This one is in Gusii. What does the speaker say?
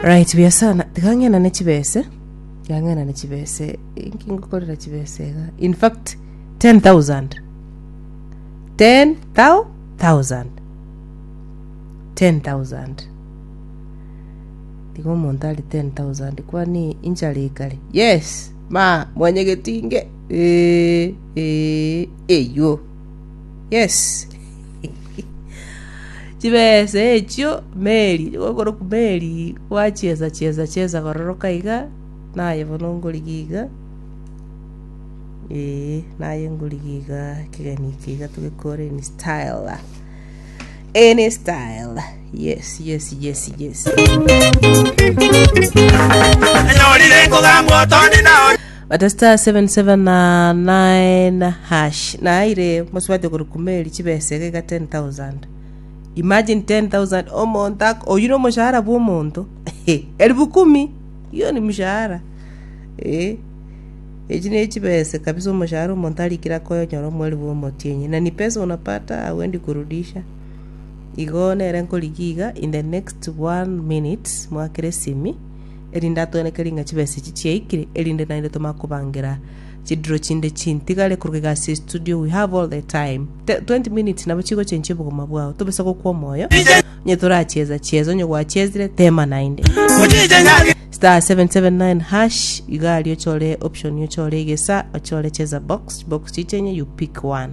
Right, buya sana. Tiga ng'enane chibese. Tiga ng'enane chibese. Inki ngokorera chibese iga? In fact, 10,000. 10,000. 10,000. Tiga omonto ari 10,000 kwani inchara ekare. Yes, ma mwanyegetinge. Eh, eh, eywo. Yes. Chibesa echio Mary, okorokwa Mary gwachiesa chiesa chiesa kororoka iga, naye bono nkorigia iga, eh, naye nkorigia iga ekegeni eke iga togekore in style, in style, yes yes yes yes. Enyorire nkogambwa otondi nao. Bata star 779 hash naire mosubati okorokwa Mary chibesa iga iga 10000 imagine 10000 omonto ak- oyio na omoshahara bwa omonto elfu kumi hiyo ni mshahara eh echi ne chibesa kabisa omoshahara omonto arikire akoyonyora omweri bwa omotienyi na ni pesa unapata hauendi kurudisha igo nere nkorigia iga in the next one minute mwakere esimi erinde atwenekerie ng'a chibesa echi chiaikire, erinde naende tomanye kobangera chidiro chinde chintigare korwa iga ase estudio we have all the time. Te- 20 minutes nabo chigochenchia obogima bwao, tobisa gokwa omoyo, onye torachieza chieza, onye gwachiezire tema naende. Star 779 hash iga aria ochore option ochore egesa ochore cheza box box chichenye you pick one.